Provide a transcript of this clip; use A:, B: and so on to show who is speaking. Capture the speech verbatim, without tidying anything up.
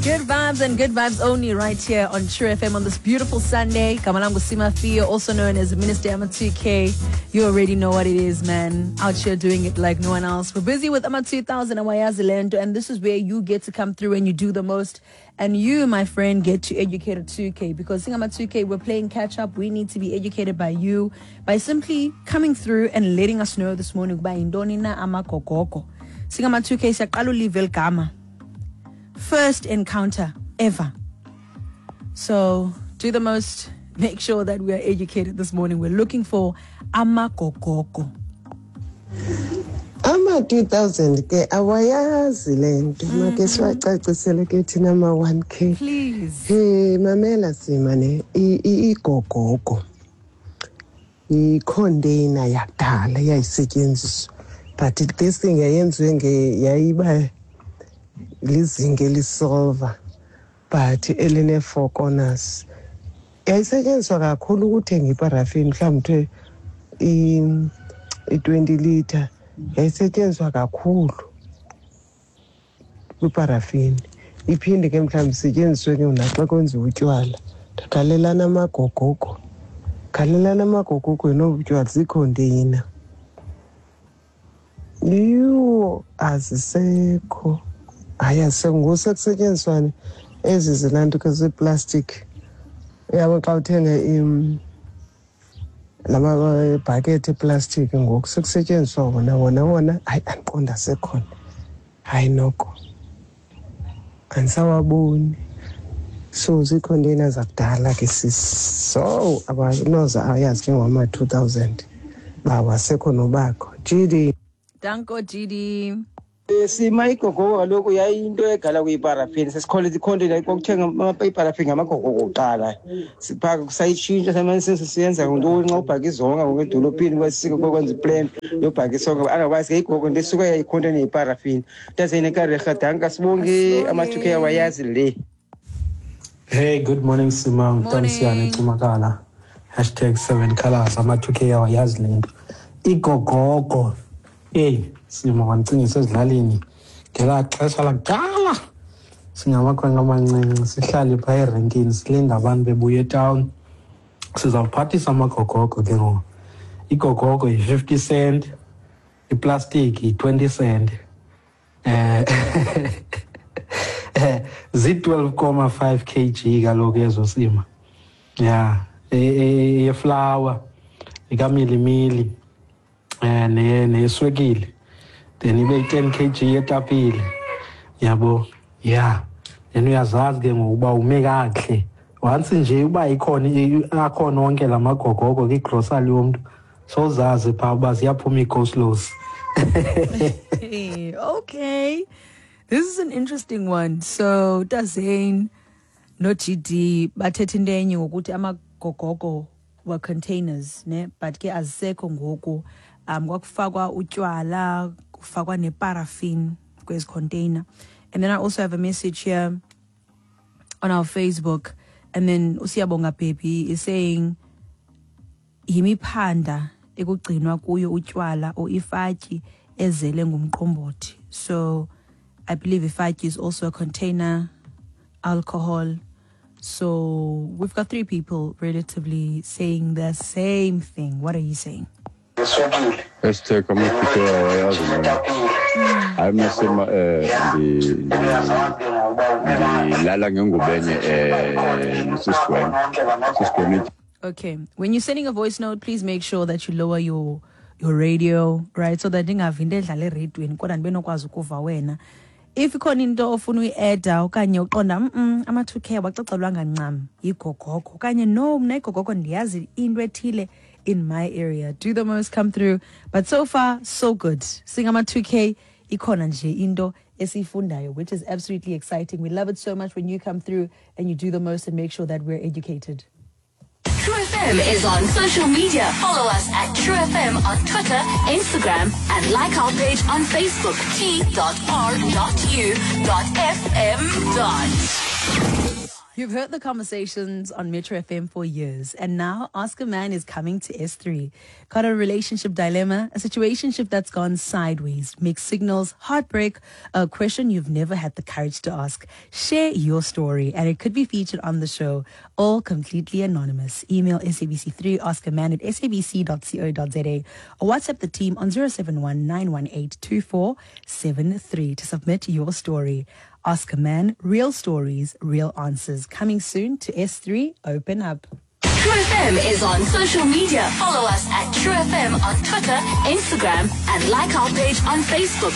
A: Good vibes and good vibes only right here on True F M on this beautiful Sunday. Gama langu Sima Theo, also known as Minister Ama two K. You already know what it is, man. Out here doing it like no one else. We're busy with Ama two thousand and Wayazi Lento, and this is where you get to come through and you do the most. And you, my friend, get to educate a two K, because Singama two K, we're playing catch up. We need to be educated by you by simply coming through and letting us know this morning. By indonina amakokoko. Singama two K siyaqala ulive ligama. First encounter ever. So do the most. Make sure that we are educated this morning. We're looking for amakokoko.
B: Ama two thousand ke awayazi lento make siwacacisele ke thina ama one K.
A: Please.
B: Hey mamela sima ne igogogo. I-container yakudala yayisetyenziswa. But this thing yayenziwe nge yayiba lizinge lisilver but eline four corners. Yayisetyenziswa kakhulu ukuthenga iparafini mhlawumbe i twenty liter. Yayisetyenziswa kakhulu kwiparafini. Iphinde ke mhlawumbe isetyenziswe ke naxa kwenziwa utywala. Ndaqalelana amagogogo. Khalelana amagogogo nobutywala ziikhondeyina. Yho, azisekho. Hayi azisekho, ngoku sekusetyenziswa ezi zilanto ke zeplastic. Uyabo xa uthenga lama bhakethi eplastic ngoku sekusetyenziswa wona wona wona. Hayi andiqonda asekhona. Hayi noko andisawaboni. So ziikhondeyina zakudala ke sisi. So abanoza ayazi ke ngama two thousand uba wasekho nobakho. G D.
A: Danko G D.
C: Sima igogogo kaloku yayinto egala kuyiparafini. Sesikhole ikhonteyina kwakuthenga iparafini ngamagogogo kuqala. Siphaka kusayitshintsha samane siyenza ngantoni nxa ubhaka izonka ngoku edolophini kwasiko kwenza iplan yobhaka isonka. Otherwise ke igogo into esuka yayikhonteyina yeparafini. Ntaseyinekarerha danka sibonge ama two K awayazi le.
D: Hey, good morning Sima, Mntanisiyane Cumakala. Hashtag seven colors ama two K awayazi le nto. Igogogo. Hey, Sima wandicingisa ezilalini ngelaa xesha lakudala singamakhwenkwe amancinci sihlale phaa erenkini silinde abantu bebuya etawuni. Sizawuphathisa amagogogo ke ngoku. Igogogo yi-fifty cent, iplastiki yi-twenty cent. Eh zi-twelve comma five kg kaloku ezo Sima. Yeah, eyeflawa, ekamilimili, eh neyeswekile. Then ibe yi-ten kg yetapile. Yabo, yeah. Then uyazazi ke ngokuba ume kakuhle. Once nje uba ikhona akhona onke la magogogo kwigrosari yomntu, sozazi phaa uba ziyaphuma ii-coleslaws.
A: Okay. This is an interesting one. So Tazane no G D bathetha into enye ngokuthi amagogogo were containers, ne? But ke azisekho ngoku. Um kwakufakwa utywala, kufakwa neparaffin kwezi container. And then I also have a message here on our Facebook. And then uSiyabonga Baby is saying yimiphanda ekugcinwa kuyo utywala or ifatyi ezele ngumqombothi. So I believe ifatyi is also a container, alcohol. So we've got three people relatively saying the same thing. What are you saying?
E: Hashtag ama two K awayazi le. Hayi mna Sima ndilala ngengubo enye eh nosisigweme. Sisigweme.
A: Okay. When you're sending a voice note, please make sure that you lower your your radio, right? So that ndingavi into edlala eradweni kodwa ndibe nokwazi ukuva wena. If ikhona into ofuna uyi-adda okanye uqonda mm ama two K awacacelwanga ncam yigogogo okanye no mna igogogo ndiyazi into ethile in my area. Do the most, come through. But so far, so good. Singama two K ikhona nje into esiyifundayo, which is absolutely exciting. We love it so much when you come through and you do the most and make sure that we're educated.
F: True F M is on social media. Follow us at True F M on Twitter, Instagram, and like our page on Facebook, T dot R dot U dot F M dot.
A: You've heard the conversations on Metro F M for years, and now Ask a Man is coming to S three. Got a relationship dilemma, a situationship that's gone sideways, mixed signals, heartbreak, a question you've never had the courage to ask. Share your story, and it could be featured on the show, all completely anonymous. Email S A B C three ask a man at S A B C dot co dot Z A or WhatsApp the team on zero seven one, nine one eight, two four seven three to submit your story. Ask a Man, real stories, real answers. Coming soon to S three, open up.
F: True F M is on social media. Follow us at True F M on Twitter, Instagram, and like our page on Facebook.